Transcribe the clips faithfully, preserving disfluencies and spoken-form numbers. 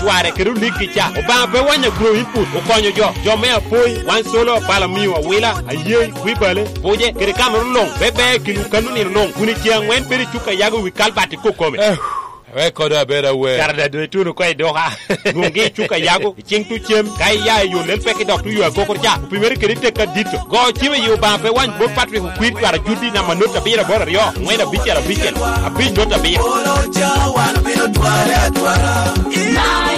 Warre kede onik kica. Obaŋa pe wanyo agro input, okonyo jo. Jo me Apoi, Wan Solo, Balamio, Awila, Ayei, Kwibale, Buje, kede Kamerun luŋ, pe ber i kinwu kanno nino luŋ, kun i ceŋ aŋwen bedo i cuk a Yago wi kalbat i kokome. Eh, wek kodo abed awer. Kara da doŋ ituno oko i duka. Lwoŋgi i cuk a Yago, i ciŋ tucem, ka iya i yo lel pek i dok tuyo agokoro ca, opimere kede tekka dito. Go cim i Obaŋa pe wany bot Patrick Okwir twara juddi namba not abiro aboro aryo, aŋwen abicel abicel, abic not abiro.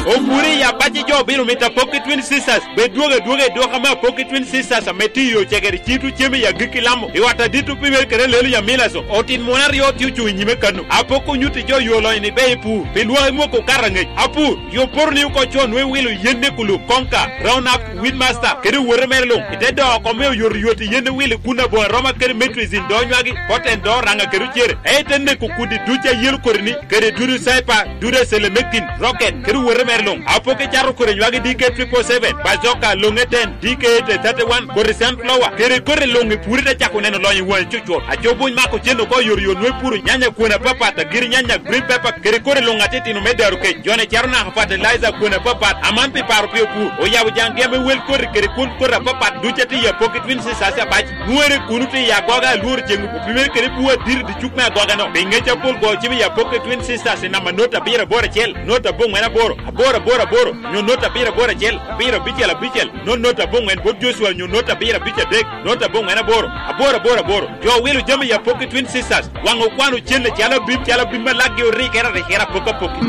Opuri i abaci jo obino mito Apoki Twin Sisters, bed dwogo adwoga i dwoka me Apoki Twin Sisters ame tye i Ocegere, cito cem i agikki Lamo, i ot adit opimere kede Lelu Yamilaso, otin muno aryo tye ocuŋ i nyime kano. Apoki onyutti jo yo lonyo ni be ipur, pi lwak imwoko okato aŋec. Apur, yo poto ni oko co nwe wilo yen ne kulub, konka, round up, Weedmaster, kede owote mere luŋ, i te doo oko me oyotoyot i yen ewili kun aboŋa roma kede metrizin do nywagi, poten do oraŋa kede ocere, ento te neko kudi duc a yelo kodi-ni, kede dudu caipa, dudu acelemekin, rocket, kede owote mere luŋ. Apoki cato kodi nywagi D K triple seven, bazoka, loŋe ten, D K eight thirty-one, kodi sunflower, kede kodi luŋ i puri te cako neno lonyo i waŋi cucur. Aco buny mako cen oko oyotoyot nwe puro nyanya kwon apapat, agiri nyanya, green pepper, kede kodi luŋ atitino me daro kec. Jone caro naka fertilizer kwon apapat, aman pi paro pi opur. Oyabo jaŋgi ame wel koti kede kwon koti apapat duc atye i Apoki Twin Sisters abac. Nwoŋere kuno tye i agoga alworo ceŋ opimere kede bwo adiri i cuk me agoga-no. Pi ŋec apol go cim i Apoki Twin Sisters i namba not abiro aboro acel, not aboŋwen aboro, aboro aboro aboro, nyo not abiro aboro acel, abiro abicel abicel, not not aboŋwen bot Joshua nyo not abiro abic adek, not aboŋwen aboro, aboro aboro aboro. Jo wilo jami i Apoki Twin Sisters, waŋ okwano cen acalo abim, calo abim ma lakgi orikere arikere apoki apoki.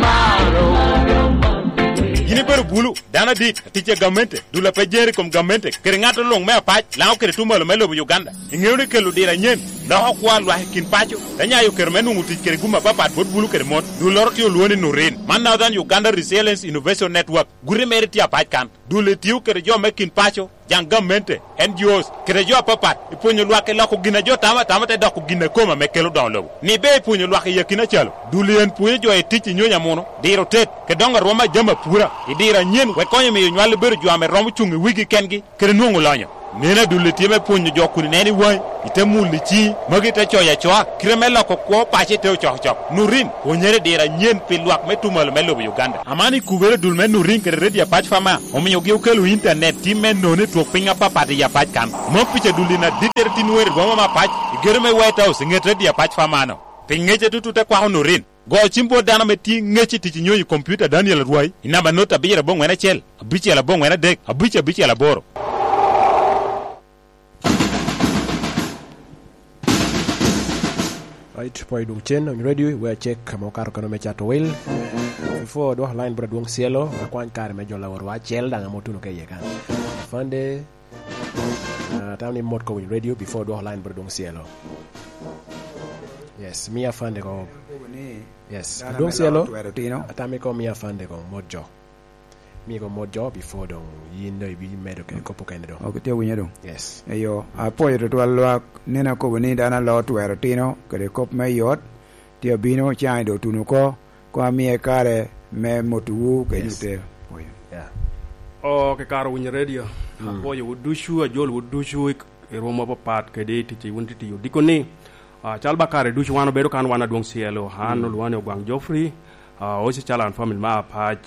Yin ibedo bulu, dano adit, atic a gamente, dul a pe jeri i kom gamente, kede ŋat oloŋ me apac, Laŋo kede Tumalo me lobo Uganda. Iŋeo ni kelo diro anyen, loko kwo a lwak i kin paco, te nyayo kero me nwoŋo tic kede gum apapat bot bulu kede mon. Dulloro tye olwoŋo ni Nurin. Man Northern Uganda Resilience Innovation Network. Guti mere tye apac kan. Dul etio kede jo me kin paco, jaŋ gamente, N G Os, kede jo apapat, i pwonyo lwak i loko gin a jo tamo atama te doko gin a kome ame kelo doŋo lobo. Ni ber i pwonyo lwak i akina calo, dul en pwonyo jo i tic i nyonyo amuno, diro tet, kede doŋo arwom a jami apura, i diro anyen, wek konyo miyo nywal obedo jo ame romo cuŋ i wigi kengi, kede nwoŋo lonyo. Neno adul tye me pwonyo jo kun ineno i waŋi, ite mulo i ciŋi, magi te coyo acoa, kite me loko kwo paco i te ocokocok. Nurin, pwonyere i diro anyen pi lwak me Tumalo me lobo Uganda. Aman i kubere dul me Nurin kede Radio Apac Fama, omiogi okelo intanet tim me nono i twok piny apapat i Apac kan. Mom pica dul in adittere tin wer i boma me Apac, i gedo me White House i ŋet Radio Apac Fama-no. Pi ŋec atutu te kwako Nurin. Go cim bot dano ame tye ŋec i tic i nyonyo i kompiuta Daniel Arwai i namba not abiro aboŋwen acel, abicel aboŋwen adek, abic abicel aboro. Right, pwony dwogo cen on radio, we check ame okato kano me cato wil. Before dwoko line bro Adwong Cielo, akwany kare me jolo aworwa acel daŋ ame otuno ka iye kan. Afande, ah, tamo ni mot ko winy radio before dwoko line bro Adwong Cielo. Yes, mi afande ko. Ni Yes, dano Adwong me Cielo. Lok twero tino. Atamo iko mi afande ko mot jo. Mi ko mot jo before doŋ yin doŋ ibi medo kede kop okene doŋ. Ok, tye winyo doŋ. Yes. Eyo, apwoyo tutwal lwak, nino akobo ni dano alo twero tino kede kop me yot, tye abino caŋ i doŋ tuno oko, koŋ amie kare me motowu kede Yes. nyute. Pwoyo. Yeah. O, kekaro winyo radio. Mm. Apwoyo wu ducu, ajol wu ducu i, i rwom mapapat kede i tic wun tye tiyo. Diko ni, ah, cal ba kare ducu wan obedo kan wan Adwong Cielo. An Mm. olwoŋa ni Ogwaŋ Geoffrey, ah, oci cal an family ma Apac.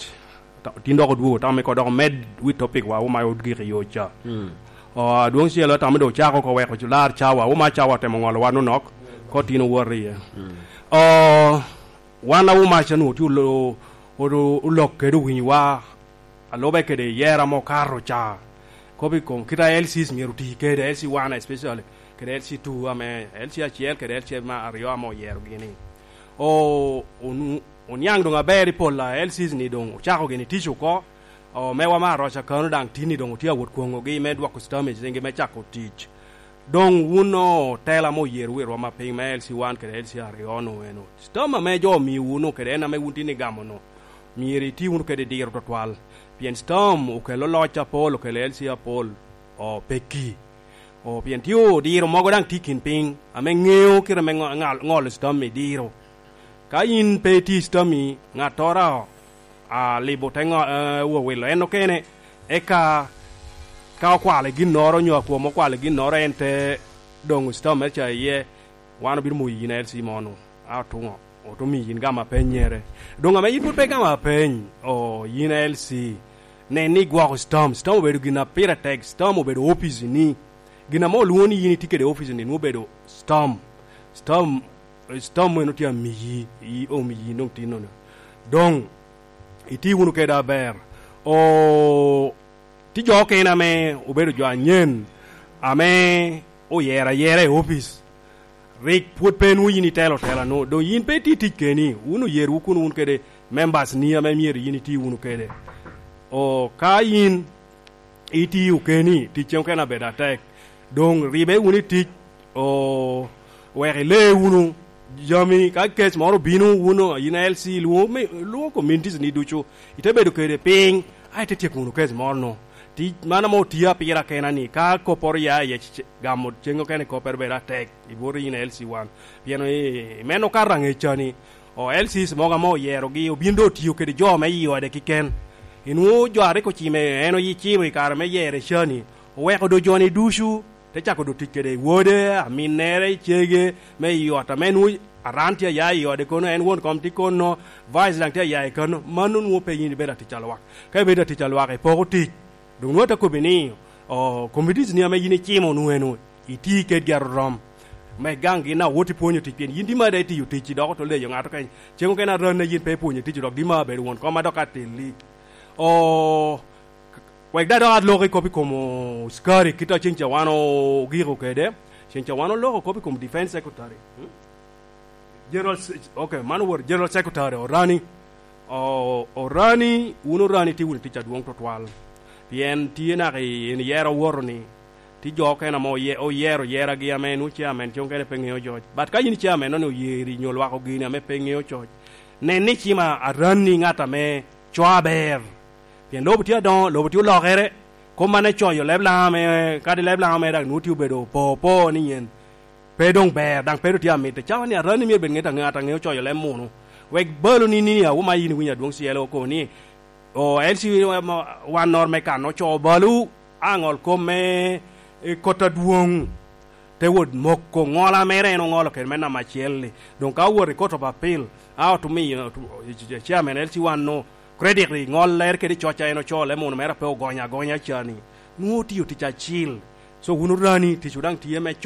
Ta-, tin dok odwogo, tamo me ko dok omed wi topic wa, wuma odgik i yo ca. Mm. Ah, Adwong Cielo, tamo dok ocako ko weko cu lar cawa, wuma cawa otemo ŋolo wa nonok, ko tin owoto iye. Mm. Ah, wan a wuma ca nwoŋo tye olo-, olo-, olok kede owinyo wa, alube kede yera mo kato ca. Kop i kom kit a L Cs myero oti kede, L C one especially, kede L C two ame, L C acel kede L C ma aryo ame oyero gini. O, onu-, oniaŋ doŋ aber i pol a L Cs ni doŋ ocako gini tic oko. O, mewa me Aroca kano daŋ tin ni doŋ otye awot kwoŋogi me dwoko stamage ringi me cako tic. Doŋ wun otela ame oyerowu i rwom apiny me L C one kede L C aryo-nu eno, stam ame jo omiowu-nu kede en ame wun tin igamo-nu, myero iti wunu kede diro twatwal, pien stam okelo loc apol, okelo L C apol, o, pekki. O, pien tye odiro mogo daŋ tye i kin piny ame ŋeo kite me ŋo-, ŋal-, ŋolo stam i diro. Ka yin pe iti stam-mi, ŋattoro a libo te ŋo-, eh, wowilo en okene, eka ka okwalo i ginnoro onyo akwom okwalo i ginnoro, en te doŋo stam mere ca iye, wan obino moyo yin L C mo-nu, a otuŋo. Oto omiyo yin gamo apennyere. Doŋ ame yin pwod pe igamo apeny, o, yin a L C, nen ni igwoko stam. Stam obedo gin a pire tek, stam obedo opic-ni. Gin ame olwoŋo ni yin itye kede opic-ni, nwoŋo obedo stam. Stam, stam en otye amiyi, i omiyi doŋ tinono. Doŋ, iti wunu kede aber. O, Tye jo okene ame obedo jo anyen, ame oyero ayera i opic. Rik pwod pe nwoŋo yin itelo tela-nu, doŋ yin pe itye tic keni, wun oyerowu kun wun kede members-ni ame myero yin iti wunu kede. O, ka yin itio keni, tic cen okene abedo atek. Doŋ ribe wunu i tic, o, wek ile wunu jami, ka kec moro obino, wun, yin a L C, lwoŋo me, lwoŋo communities-ni ducu, ite bedo kede piny, a ite tyeko wunu kec moro-nu. Tic man ame otio apira kena-ni, ka kopporo ya iye, c-, c-, gamo cen okene koppere bedo atek, i bot yin a L C wan. Pien i, i meno ka raŋe ca-ni, o, L Cs mogo ame oyerogi, obin doŋ otio kede jo me i ode kiken. Inwoŋo jo a rik ocimo, en oyi-, cimo i kare me yero ca-ni, oweko doŋ jo-ni ducu, te cako doŋ tic kede wode, aminnere, cege, me i ot, ame nwoŋo aran tye aya i ode kono, en won kom tye kono, vice daŋ tye aya i kano, mano nwoŋo pe yin ibedo atic a lwak. Ka ibedo atic a lwak, ipoko tic. Doŋ nwoŋo ate kobbi ni, o, committees-ni ame yin icimo nwoŋo eno, iti kedgi arorom. Me gaŋ gin a wot ipwonyo tic, pien yin di ma daŋ itiyo tic, dok oto leyo ŋato kany. Cen okene aran a yin pe ipwonyo tic, dok di ma abedo won kom a dok atelli. O, wek daŋ dok alok i kop i kom ocukari, kit a cen ca wan ogiko kede. Cen ca wan oloko kop i kom defense secretary. Hmm? General Se-, ok, man owor General Secretary Orani. O-, Orani, wun Orani tye wunu tic adwoŋ tutwal. Pien tye naka i, en yero owoto ni, tye jo okene ame oye-, oyero yeragi ame nwoŋo chairman, cen okene pe ŋeo jo. But ka yin chairman noni oyeri nyo lwak ogini ame pe ŋeo coc, nen ni cima Arani ŋat ame co aber. Pien lobo tye adoŋo, lobo tye olokere, kop man ecoyo leb Laŋa ame, kadi leb Laŋa ame dak nwoŋo tye obedo po po ni nyen. Pe doŋ ber, daŋ pe doŋ tye amitte. Cawa ni Arani myero bed ŋet aŋe-, ŋat aŋeo coyo leb munu. Wek balo ni, ni, a, wuma yin iwinyo adwoŋ cielo oko ni, o, L C wan nor me kan ocoo balo, a ŋol kom me, e, kot adwoŋ. Te wot moko ŋola mere en oŋolo kede me namba acel-li. Doŋ ka owot i Court of Appeal, a otumiyo, otu-, chairman L C wan no, credit i ŋollere kede coc a en ocoo leb munu mere a pe ogonyo agonya ca-ni. Nwoŋo otio tic acil. So, wun Orani, ticwu daŋ tye me